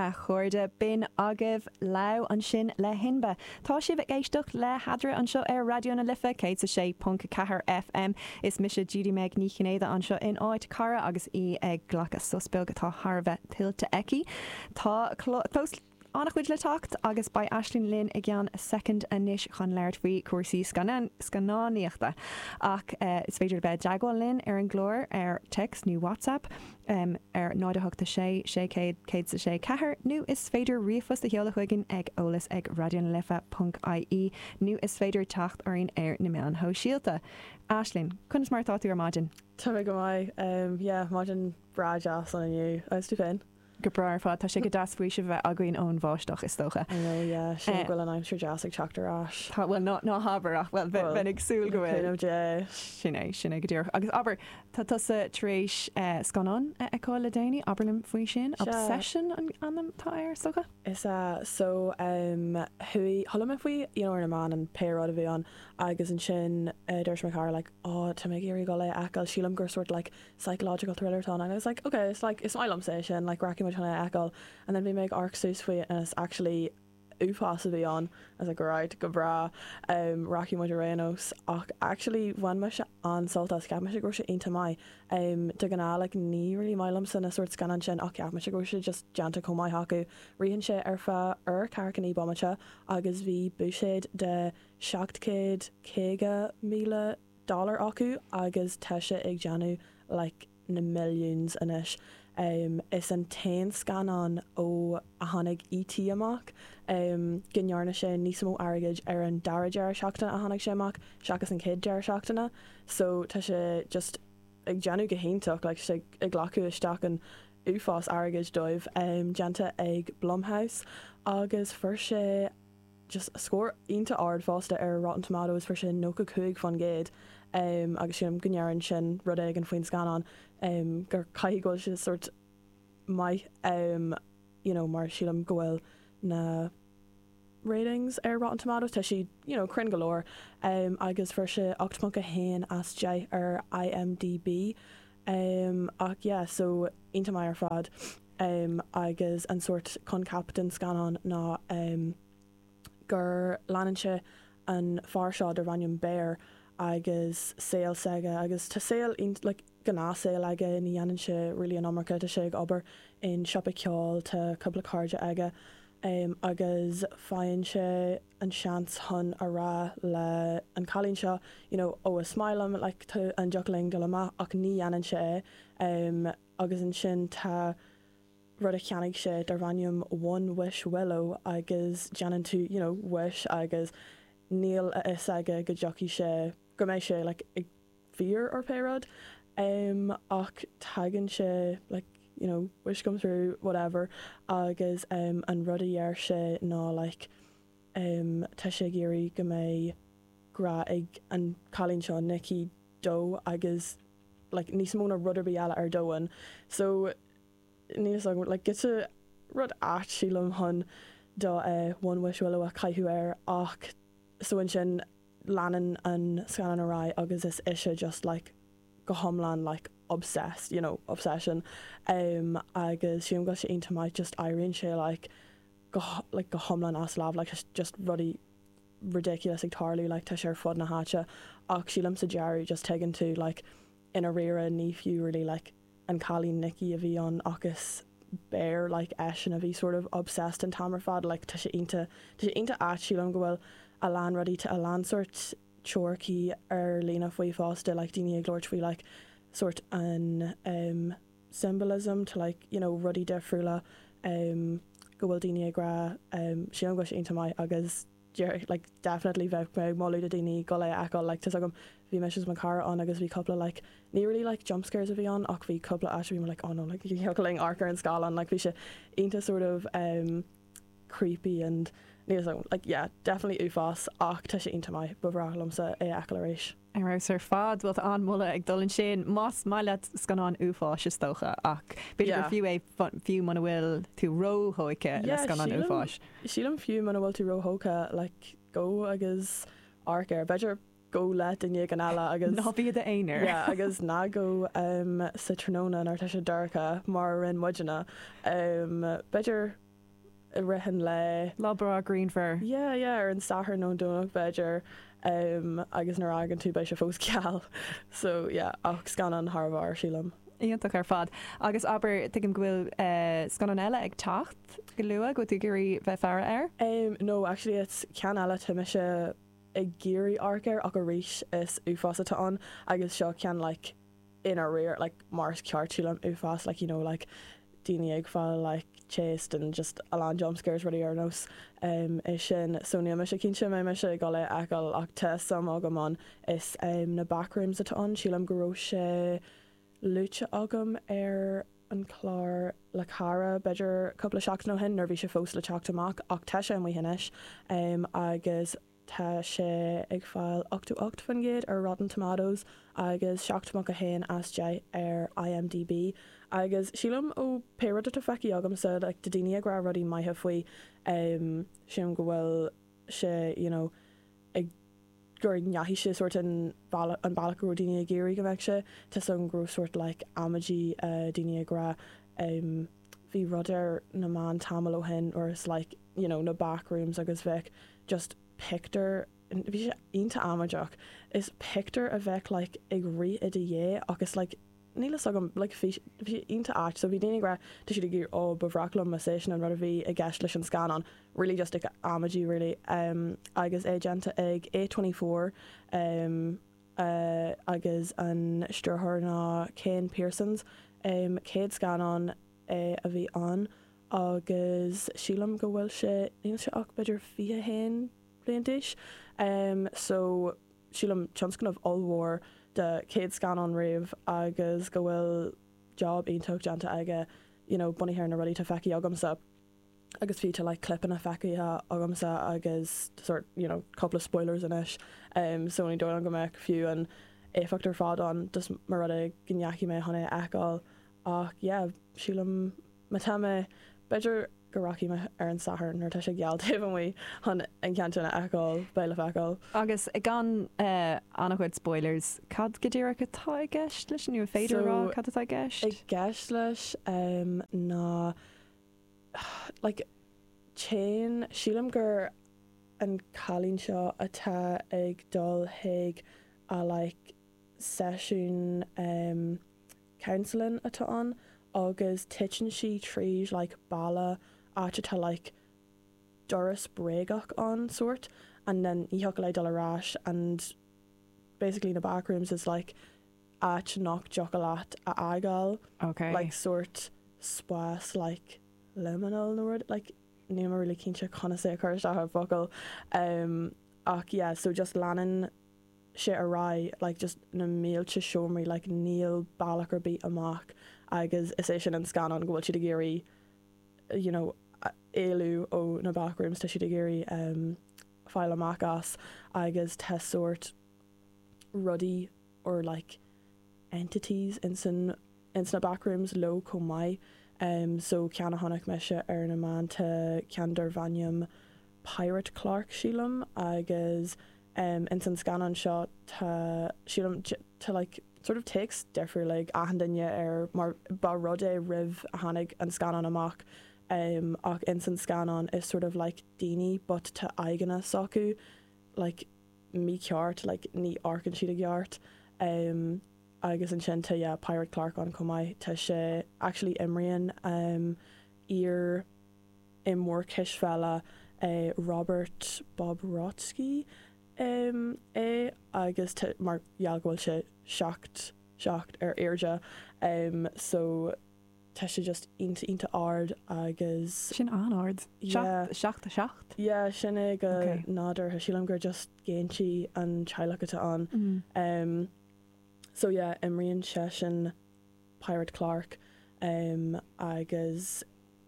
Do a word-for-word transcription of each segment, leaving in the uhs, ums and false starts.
A chairde, b'in agaibh Lau ansin le Hinba. Tá sibh ag éisteacht le hEadra anseo ar Raidió na Life céad sé ponc ceathair F M. Is mise Judy Meg Ní Chinnéide anseo in áit Cara agus í ag glacadh sos beag atá thar a bheith tuillte aici. Tá fós an-chuid le teacht agus beidh Aisling linn i gceann soicind anois chun labhairt faoi cúrsaí scannánaíochta. Ach uh, is féidir bheith i dteagmháil linn ar an gclár ar text nó WhatsApp um, ar náid a hocht sé sé céad sé ceathair nó is féidir ríomhphost a sheoladh chugainn ag eolas ag raidió na life ponc I E nó is féidir teacht orainn ar na meáin shóisialta. Aisling, conas mar atá tú ar maidin? Tá mé go maith, um, yeah, maidin breá deas ann inniu. Agus tú féin? Go breá ar fad. Tá sé go deas faoiseamh bheith againn ón bháisteach, is dócha. I know, yeah, sin go bhfuil an aimsir deas ag teacht ar ais. Tá, well, ná ná habair ach, well, bheinn ag súil go bhfuil. Dé. Sin é, sin é go díreach. Agus abair, tá tusa tar éis uh, scannán a fheiceáil le déanaí, abair liom faoi sin? Obsession an ainm atá air, is dócha? Is uh, so um, chuala chuala mé faoi you know, ar na meáin an pé rud a bhí ann agus ansin uh, dúirt mo chara like, "Oh, tá mé ag iarraidh dul é a fheiceáil, sílim gur sort like psychological thriller tá," and I was like, "Okay, it's like is maith liomsa é sin, like rachaidh muid chun é a fheiceáil." And then bhí mé ag amharc suas faoi and it's actually uafás a bhí ann. I was like, "Right, go breá, um, rachaidh muid ar aon nós." Ach actually bhain mise an-sult as. Cheap mise go raibh sé iontach maith. um, de ghnáth like, ní really maith liomsa na sort scannán sin ach cheap mise go raibh sé just déanta chomh maith acu. Ritheann sé ar feadh uair ceathracha naoi bomaite agus bhí buiséad de seacht céad caoga míle dollar acu agus tá sé ag déanamh like, na millions anois. Um, is an t-aon scannán ó a tháinig E T amach um, go ndearna sé níos mó airgid ar an dara deireadh seachtaine a tháinig sé amach seachas an chéad deireadh seachtaine, so tá sé just ag déanamh go hiontach, like, sé ag glacadh isteach an uafás airgid dóibh. um, déanta ag Blumhouse agus fuair sé just scór iontach ard fosta ar Rotten Tomatoes, fuair sé nócha cúig faoin gcéad, um, agus sin go ndeireann sin rud éigin faoin scannán, um, gur caithfidh go bhfuil sé sort maith, um, you know, mar sílim go bhfuil na ratings ar Rotten Tomatoes, tá siad you know, cruinn go leor, um, agus fuair sé ocht ponc a haon as deich ar I M D B, um, ach yeah, so iontach maith ar fad, um, agus an sort coincheap den scannán ná um, gur leanann sé an fear seo darb ainm Bear agus saol s'aige agus tá saol like, gnáthshaol aige, ní dhéanann sé really an iomarca, tá sé ag obair in siopa ceoil, tá cúpla cairde aige, um, agus faigheann sé an seans chun a rá le an cailín seo you know, "Ó, is maith liom, like, tá an dtiocfadh linn dul amach?" Ach ní dhéanann sé é, um, agus ansin tá rud a cheannaigh sé darb ainm One Wish Willow agus déanann tú you know, wish agus níl a fhios aige go dtiocfaidh sé go mbeidh sé like, ag fíor or pé rud, um, ach tagann sé like, you know, wish come through, whatever, agus um, an rud a dheir sé ná like, um, tá sé ag iarraidh go mbeidh grá ag an cailín seo Nikki dó agus like, níos mó ná rud ar bith eile ar domhan. So ní like, get rud ait sílim chun do uh, One Wish Willow a chaitheamh air ach so ansin leanann an scannán ar aghaidh agus is ise just like go hiomlán like obsessed, you know obsession, um, agus sílim go sé iontach maith, just éiríonn sé like go like go hiomlán as lámh, like just rudaí ridiculous ag tarlú, like tá sé ar fud na háite ach sílim sa deireadh just tuigeann tú like i ndáiríre ní fiú really like an cailín Nikki a bhí ann agus Bear, like eisean a bhí sort of obsessed an t-am ar fad. Like tá sé iontach tá sé iontach ait. Sílim go bhfuil a lán rudaí, tá a lán sort teoiricí ar líne faoi fosta, like daoine ag labhairt faoi like sort an um, symbolism to like you know rudaí difriúla, um, go bhfuil daoine ag rá, um, sílim go bhfuil sé iontach maith agus like definitely bheadh mé ag moladh do daoine dul é a fheiceáil. Like tá agam bhí mé mo chara ann agus bhí cúpla like ní really like jump scares a bhí ann ach bhí cúpla áit bhí mé like, "Oh no, like ling amharc ar an scáileán." Like bhí sé iontach sort of um, creepy and ní like yeah, definitely uafás ach tá sé iontach maith, ba bhreá liomsa é a fheiceáil arís. Ar fheabhas ar fad. Bhfuil an moladh ag dul ansin más maith leat scannán uafáis, is dócha, ach b'fhéidir gur fiú é fiú muna bhfuil tú róthógtha le scannán uafáis. Sílim fiú muna bhfuil tú róthógtha, like go agus amharc air, b'fhéidir go le duine éigin eile agus Ná bí i d'aonar. Yeah, agus ná go um, sa tráthnóna nuair tá sé dorcha mar a rinne muidne. um, b'fhéidir i rith an lae. Lá breá grianmhar. Yeah, yeah, ar an Satharn nó Domhnach b'fhéidir um, agus nuair a fhágann tú beidh sé fós geal. So yeah, ach scannán thar barr sílim. Iontach ar fad. Agus abair tuigim go bhfuil uh, scannán eile ag teacht go luath go tú gurí bheith faire air? Um, no, actually it's ceann eile tá mise ag iarraidh amharc air ach arís is uafás atá ann agus seo ceann like ina réir like mar is ceart sílim uafás like you know like daoine ag fáil like chased and just a lán jump scares rudaí ar nós um, é sin so níl mise cinnte mé mise ag dul é a fheiceáil ach tá suim agam ann is um, na backrooms atá ann sílim go raibh sé luaite agam ar an chlár le cara b'fhéidir cúpla seachtain ó shin nuair bhí sé fós le teacht amach ach tá sé amuigh anois um, agus tá sé ag fáil ochtó ocht faoin gcéad ar Rotten Tomatoes agus seacht ponc a haon as deich ar IMDb agus sílim ó pé rud atá feicthe agamsa like, tá daoine ag rá rudaí maithe faoi um, sílim go bhfuil sé you know, ag gur ndeachaigh sé sort an bealach an bealach go raibh daoine ag iarraidh go mbeadh sé Tá san go raibh sort like amaidí uh, daoine ag rá um, bhí rud ar na meáin tamall ó shin or it's like you know, na backrooms agus bheadh just picture bhí sé iontach amaideach is picture a bheith like ag rith i do dhiaidh agus like níl a fhios agam like bhí bhí sé iontach ait so bhí daoine ag rá tá siad ag iarraidh ó ba bhreá liom sé sin an rud a bhí i gceist leis an scannán really just ag amaidí really um, agus é déanta ag A twenty four um, uh, agus an stiúrthóir ná Kane Parsons um, céad scannán é a bhí ann agus sílim go bhfuil sé níl sé ach b'fhéidir fiche haon bliain d'aois um, so sílim tionscnamh ollmhór de céad scannán riamh agus go bhfuil job iontach déanta aige you know, bunaithe ar na rudaí atá feicthe agamsa agus bhí tá like clipanna feicthe agamsa agus sort you know, cúpla spoilers anois um, so ní dóigh go mbeadh fiú an éifeacht ar fad ann just mar rud é go ndeachaigh mé chun é a fheiceáil ach yeah, sílim má tá mé b'fhéidir go rachaidh mé ar an Satharn nuair tá sé geal taobh amuigh chun an ceann sin a fheiceáil beidh le feiceáil. Agus gan uh, an-chuid spoilers, cad go díreach atá i gceist leis nó féidir So, rá cad atá i gceist? I gceist leis um, ná like téann sílim gur an cailín seo atá ag dul chuig a like seisiún um, counseling atá ann agus titeann sí tríd like balla áit atá like doras bréagach ann sort and then ní thiocfadh léi dul ar ais and basically na backrooms is like áit nach dtiocfadh leat a fhágáil Okay. like sort spás like liminal nó rud like níl mé really cinnte conas é a chur isteach ar focal um, ach yeah so just leanann sé ar aghaidh like just na mílte seomraí like níl bealach ar bith amach agus is é sin an scannán go bhfuil siad ag iarraidh you know a- éalú ó na backrooms tá siad ag iarraidh um, fáil amach as agus tá sort rudaí or like entities in san ins na backrooms leo chomh maith um, so ceann a chonaic mise ar na meáin tá ceann darb ainm Pirate Clark sílim agus um, ins an scannán seo tá sílim j- tá like sort of takes difriúil like achan duine ar mar ba rud é roimh a tháinig an scannán amach um, ach ins an scannán is sort of like daoine but tá aghaidheanna s'acu like mícheart like ní amharcann siad i gceart um, agus ansin tá yeah, Pirate Clark ann chomh maith tá sé actually imríonn um, iar imreoir cispheile uh, Robert Bobrotsky um, é agus tá- mar gheall go bhfuil sé seacht seacht ar airde um, so tá sé just iontach iontach ard agus Sin an-ard. Yeah. Seacht seacht a seacht? yeah, sin é go Okay. nádúrtha sílim gur just géintí an teaghlach atá ann. Mm. Um, so yeah, imríonn seisean Pirate Clark um, agus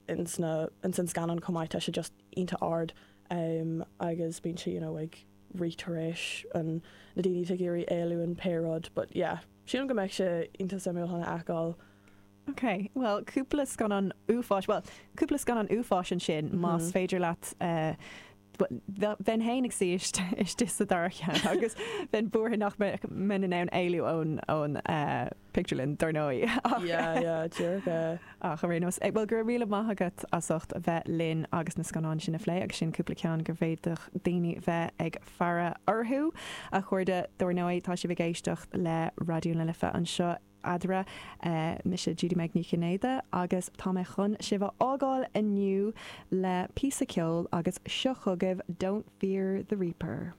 ins na ins an scannán chomh maith tá sé just iontach ard um, agus bíonn sé you know, ag rith tar éis an na daoine ag iarraidh éalú an pé rud, but yeah, sílim go mbeidh sé iontach suimiúil chun a fheiceáil. Ok, well cúpla scannán uafáis, well cúpla scannán uafáis ansin mm -hmm. más Mhm. féidir leat uh, Bheinn féin ag suí istigh sa dara ceann agus bheinn buartha nach mbeinn in ann éalú ón ón uh, pictiúrlann dar ndóigh. Ach ar aon nós well go raibh míle maith agat as ucht a bheith linn agus na scannáin sin a phlé agus sin cúpla ceann go bhféadfadh daoine bheith ag faire orthu a chairde dar ndóigh tá sibh ag éisteacht le Raidió na Life anseo eadra uh, mise Judy Meg Ní Chinnéide agus tá mé chun sibh a fhágáil inniu le píosa ceoil agus seo chugaibh Don't Fear the Reaper.